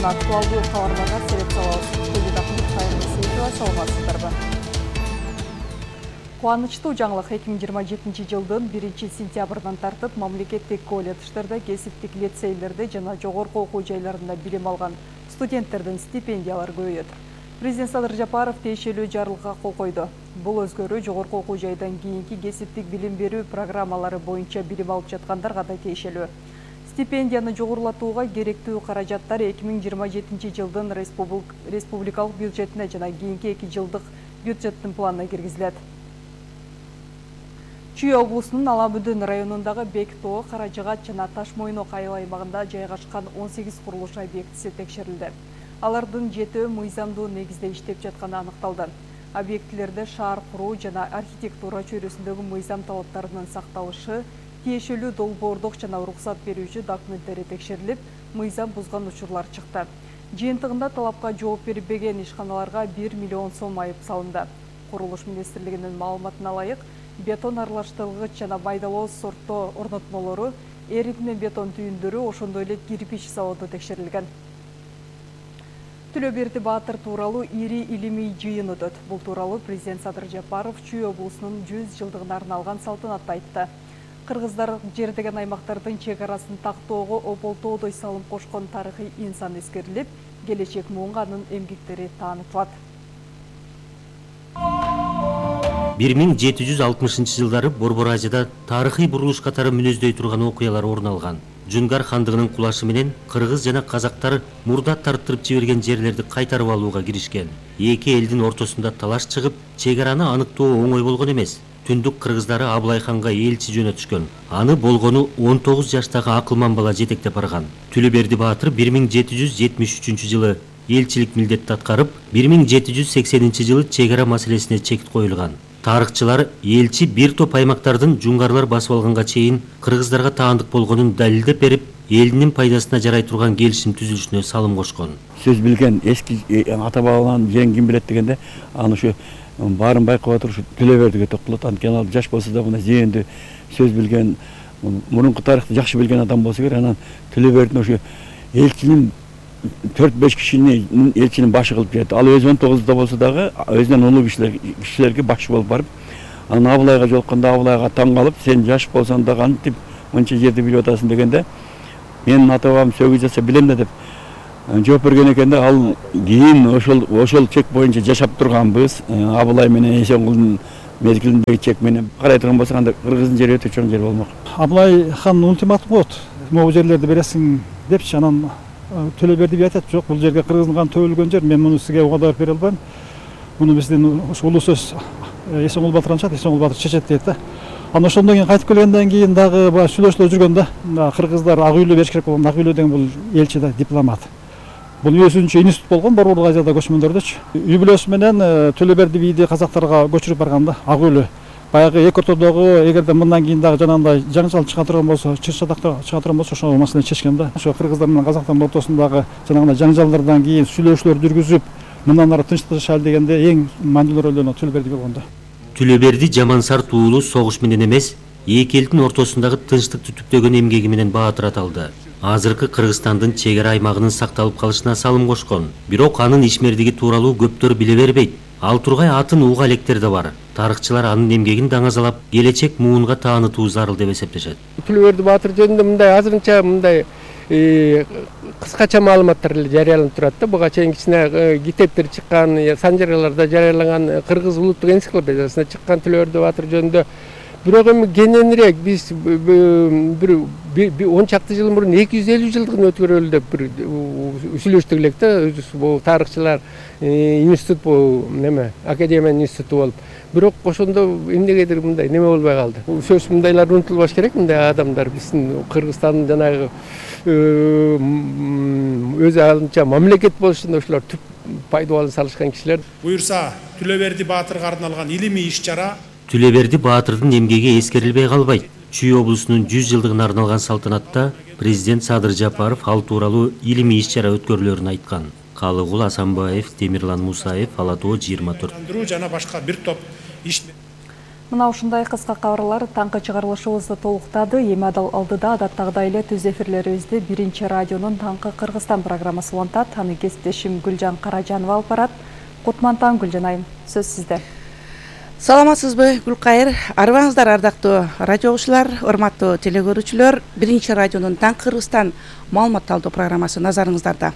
жана актуалдуу кабарларга селекциялабыз. Саламатсыздарбы? Кубанычтуу жаңылык 2027 жылдын 1-сентябрынан тартып мамлекеттик колледждерде, кесиптик лицейлерде жана жогорку окуу жайларында билим алган студенттердин стипендиялары көбөйөт. Президент Садыр Жапаров тиешелүү жарлыкка кол койду. Бул өзгөрүү жогорку окуу жайдан кийинки кесиптик билим берүү программалары боюнча билим алып жаткандарга да тиешелүү. Стипендияны жогорулатууга керектүү каражаттар 2027 жылдын республикалык бюджетине жана кийинки 2 жылдык бюджеттин планына киргизилет. Чүй облусунун Ала-Бүдүн районундагы Бек-Тоо, Каражыгат жана Таш-Мойнок айыл аймагында жайгашкан 18 курулуш объектиси текшерилди. Алардын 7 мыйзамдуу негизде иштеп жатканы аныкталды. Объектилерде шаар куруу жана архитектура чөйрөсүндөгү мыйзам талаптарынын сакталышы, тиешелүү долбоордук жана уруксат берүүчү документтери текшерилип, мыйзам бузган учурлар чыкты. Жыйынтыгында талапка жооп бербеген ишканаларга 1 миллион сом айып салынды. Курулуш министрлигинин маалыматына ылайык, бетон аралаштыргыч жана майдалоо сорто орнотмолору, эритме бетон түйүндөрү, ошондой эле кирпич заводу текшерилген. Түлөберди Баатыр тууралуу ири илимий жыйын өтөт. Бул тууралуу президент Садыр Жапаров Чүй облусунун 100 жылдыгына арналган салтанатта айтты. Кыргыздар жер деген аймактардын чек арасын тактоого ополтоодой салым кошкон тарыхый инсан эскерилип, келечек муунга анын эмгектери таанытылат. 1760 жылдары Борбор Азияда тарыхый бурулуш катары мүнөздөй турган окуялар орун алган. Жунгар хандыгынын кулашы менен кыргыз жана казактар мурда тарттырып жиберген жерлерди кайтарып алууга киришкен. Эки элдин ортосунда талаш чыгып, чек араны аныктоо оңой болгон эмес. Түндүк кыргыздары Абылай ханга элчи жөнөтүшкөн. Аны болгону 19 жаштагы акылман бала жетектеп барган. Түлөберди Баатыр 1773 жылы элчилик милдетти аткарып, 1780 жылы чек ара маселесине чек коюлган. Тарыхчылар элчи бир топ аймактардын жунгарлар басып алганга чейин кыргыздарга таандык болгонун далилдеп берип, элинин пайдасына жарай турган келишим түзүлүшүнө салым кошкон. Сөз билген эски ата бабалардан жеңин ким билет дегенде, аны ушу баарын байкап отуруп Түлөбердиге токтолот. Анткени ал жаш болсо да мына жээндүү сөз билген, мурунку тарыхты жакшы билген адам болсо керек. Анан Түлөбердин ушу элчинин 4-5 кишинин элчинин башы кылып берди. Ал өзү 19-да болсо дагы өзүнөн улуу кишилерге башы болуп барып, анан Абылайга жолукканда Абылайга таң калып, сен жаш болсоң да кантип мынча жерди билип атасың дегенде, менин ата бабам сөгүз жаса билем да деп жооп берген экен да. Ал кийин ошол чек боюнча жашап турганбыз. Абылай менен Эсенгулдун мезгилиндеги чек менен карай турган болсок, анда кыргыздын жери өтө чоң жер болмок. Абылай хан ультиматум коет, могу жерлерди бересиң депчи. Анан Түлөберди би айтат, жок, бул жерге кыргыздын каны төгүлгөн жер, мен муну сизге угадап бере албайм. Муну биздин улуу сөз Эсенгул Батыр анчат, Эсенгул Батыр чечет дейт да. Анан ошондон кийин кайтып келгенден кийин дагы баягы сүйлөшүлө жүргөн да. Кыргыздар Ак үйлүү бериш керек болгон. Ак үйлүү деген бул элчи да, дипломат. Бул өзүнчө институт болгон Борбор Азияда көчмөндөрдөчү. Үй бүлөсү менен Түлөберди бийди казактарга көчүрүп барганда Ак үйлүү. Баягы эки ортодогу эгерде мындан кийин дагы жанагындай жаңжал чыга турган болсо, чыр-чатактар чыга турган болсо, ошол маселени чечкен да. Ошо кыргыздар менен казактардын ортосундагы жанагындай жаңжалдардан кийин сүйлөшүүлөр жүргүзүп, мындан ары тынчтык жашайлы дегенде эң маанилүү ролдон Түлөберди болгон да. Түлөберди Жамансар туулу согуш менен эмес, эки элдин ортосундагы тынчтыкты түптөгөн эмгеги менен Баатыр аталды. Азыркы Кыргызстандын чек ара аймагынын сакталып калышына салым кошкон. Бирок анын ишмердиги тууралуу көптөр биле бербейт. Ал тургай атын уга электер да бар. Тарыхчылар анын эмгегин даңазалап, келечек муунга таанытуу зарыл деп эсептешет. Түлөберди Баатыр жөнүндө мындай азырынча мындай кыскача маалыматтар эле жарыяланып турат да. Буга чейин кичине китептер чыккан, санжараларда жарыяланган, кыргыз улуттук энциклопедиясында чыккан Түлөберди Баатыр жөнүндө. Бирок эми кененирээк биз бир 10 чакты жыл мурун 250 жылдыгын өткөрөлү деп бир сүйлөштүк элек да. Бул тарыхчылар институт, бул неме, академиянын институту болуп. Бирок ошондо эмнегедир мындай неме болбой калды. Сөз мындайлар унутулбаш керек, мындай адамдар биздин Кыргызстандын жанагы өзү алынча мамлекет болушунда ошолор түп пайдаланып салышкан кишилер. Буюрса, Түлөберди Баатырга арналган илимий иш-чара Түлөберди Баатырдын эмгеги эскерилбей калбайт. Чүй облусунун 100 жылдыгына арналган салтанатта президент Садыр Жапаров ал тууралуу илимий иш-чара өткөрүлөрүн айткан. Калыгул Асанбаев, Темирлан Мусаев, Ала Тоо 24. жана башка бир топ иш. Мына ушундай кыска кабарлар таңкы чыгарылышыбызды толуктады. Эми алдыда адаттагыдай эле түз эфирлерибизди Биринчи радионун Таңкы Кыргызстан программасы улантат. Аны кесиптешим Гүлжан Каражанова алып барат. Кутман таң, Гүлжан айым, сөз сизде. Саламатсызбы, Гүлкайыр? Арыбаңыздар, ардактуу радио угуучулар, урматтуу теле көрүүчүлөр. Биринчи радионун Таңкы Кыргызстан маалымат талдоо программасы назарыңыздарда.